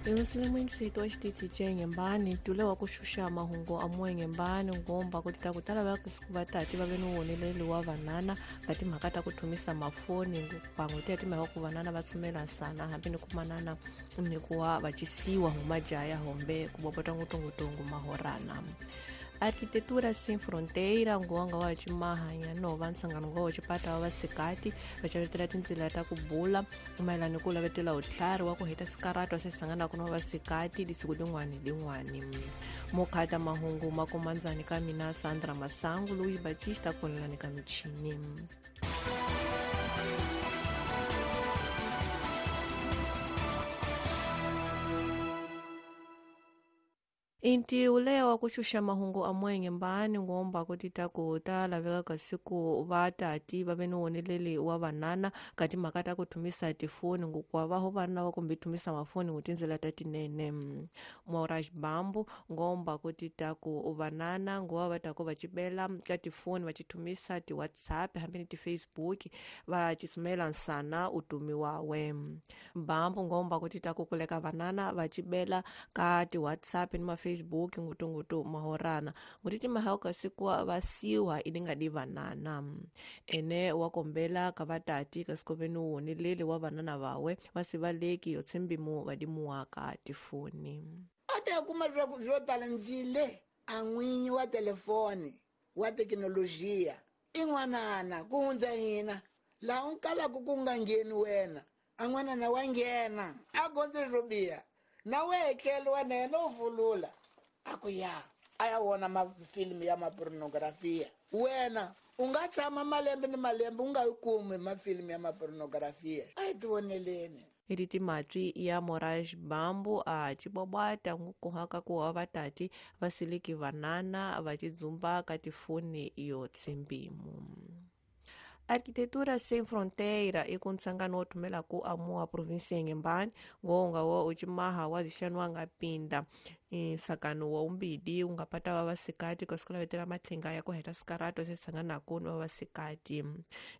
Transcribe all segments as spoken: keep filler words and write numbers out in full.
Emusilemwengiseto wa xitichi xa Inhembane ntule wa ku xuxa mahungu a mo Inhembane ngomba ku tita ku tala va ku va tati va ve ni woneleli wa vanana ka timhaka ta ku thumisa mafoni pangwe ti ya timhaka ku vanana va tsumela nsana hambi ni ku manana ni ku wa va cisiwa huma jaya hombe ku bobota ngutongutongu mahorana. Arquitetura Sem Fronteira ngonga wa chimahanya no va nhlangano wa chipata wa vasikati va chavetela tindzila ta ku bula mayelana ku lavetela utlhari wa ku heta sikarata se sangana ku no vasikati lisiku din'wani din'wani. Mokhata mahungu makomandzani ka mina Sandra Masangu Luis Batista konelani ka michini. Inti ulewa ku xuxa mahungu a mo Inhembane ngomba ku tita ku ta laveka kasi ku va tati va ve ni woneleli wa vanana ka timhaka ta ku thumisa tifoni ngokwa va ho vana va kumbe thumisa mafoni ku tindzela ta tinene. Moraj Bambu ngomba ku tita ku vanana ngowa va ta ku va cibela ka tifoni va chithumisa ti WhatsApp hambi ni ti Facebook va chisumela nsana utumiwa we. Bambu ngomba ku tita ku kuleka vanana va cibela ka ti WhatsApp ni ma Facebook ngutungutu mahorana ngutiti mahauka sikuwa vasiwa ilinga di vanana. Ene wakombela kavatati kasikovenu wonelele wa vanana vawe vasivaleki yotsembimu vadimuwa ka tifoni. Ate kuma zwo talanzile angwinyi wa telefoni wa teknolojia in'wanana kuhundza hina la unkala kukunga ngeni wena an'wanana wa nghena a gondze swo biha na wetlele wa nena u vulula a ku ya a ya vona mafilimu ya mapornografia wena u nga tshama malembe ni malembe u nga yi kumi mafilimu ya mapornografia a hi tivoneleni. Eriti matwi ya Moraj Bambu a chibobwata ngukuhaka ku wa vatati vasiliki vanana va chidzumba ka tifoni yo tsembimu. Arquitetura Sem Fronteira i ku nhlangano wo thumela ku amua provinsia Inhembane ngonga wa uchimaha wa zixanwa nga pinda nsakano wa umbidi ungapata wa vasikati kasi ku lavetela matlhinga ya ku heta sikarato se sanganaku ni wa vasikati.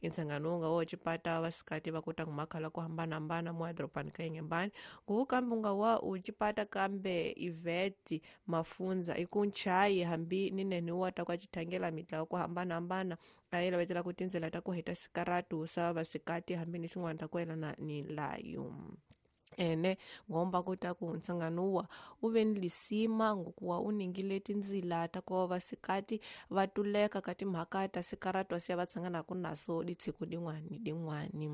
Nhlangano unga wa chipata wa vasikati va kota ngumakhala ku hambanahambana mo edorobani ka Inhembane nguvu kambe unga wa uchipata kambe Ivete Mafunza i ku nchayi hambi ni nene wa ta kwa chithangela mitlawa ku hambanahambana a yi lavetela ku tindzela ta ku heta sikaratu sa vasikati hambi ni swin'wana ta ku yelana ni layo. Ene ngomba ku ta ku nhlangano u ve ni lisima ngokuwa u ningile tindzila ta ku vasikati va tuleka ka timhaka ta sikaratu siya va tshanganaku naso ditshiku din'wani din'wani.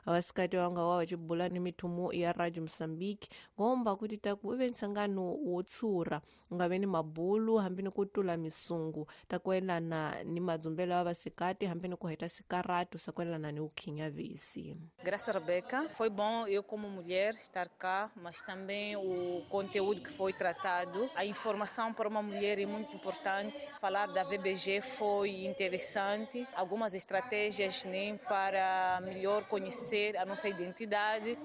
Vasikati va nga wa va chibula ni mithumu ya Radio Mozambique ngomba ku tita ku u ve nhlangano wo tshura u nga ve ni mabulu hambi ni ku tula misungu ta ku yelana ni madzumbelo ya vasikati hambi ni ku heta sikaratu sa ku yelana ni ukhinyavisi. Graças Rebeca, foi bom eu como mulher estar cá, mas também o conteúdo que foi tratado, a informação para uma mulher é muito importante. Falar da V B G foi interessante, algumas estratégias, né, para melhor conhecer a nossa identidade,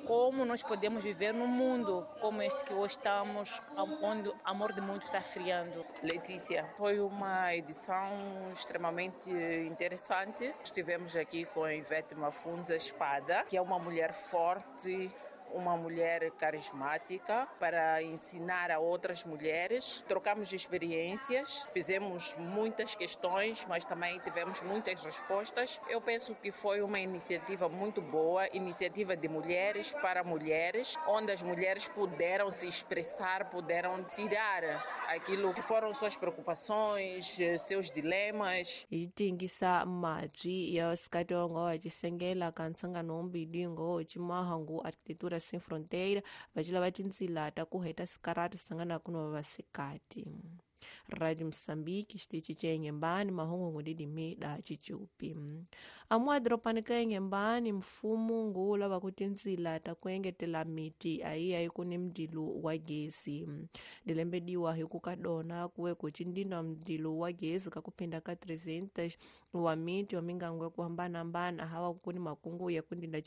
como nós podemos viver num mundo como este que hoje estamos, onde o amor de mundo está friando. Letícia, foi uma edição extremamente interessante. Estivemos aqui com a Ivete Mafunza Espada, que é uma mulher forte, uma mulher carismática, para ensinar a outras mulheres. Trocamos experiências, fizemos muitas questões, mas também tivemos muitas respostas. Eu penso que foi uma iniciativa muito boa, iniciativa de mulheres para mulheres, onde as mulheres puderam se expressar, puderam tirar aquilo que foram suas preocupações, seus dilemas. Hi tingisa matwi ya vasikati va nga wa chisengela ka nhlangano wombili ngo chimahangu Arquitetura Sem Fronteira va lava tindzila ta ku heta sikaratu sanganaku no vasikati. Radio Mozambique xitichi xa Inhembane mahungu ngudidimi da chichupi. Amwa dropani ka Inhembane mfumo ngu lava ku tindzila ta ku engetela miti ayi ayi ku ni mdilu wa gesi. Dilembediwa hi ku ka dona kuwe ku chindina mdilu wa gesi ka kupinda ka trezentos wa miti wa mingango ya ku hambanahambana hawa ku ni makungu ya ku ndinda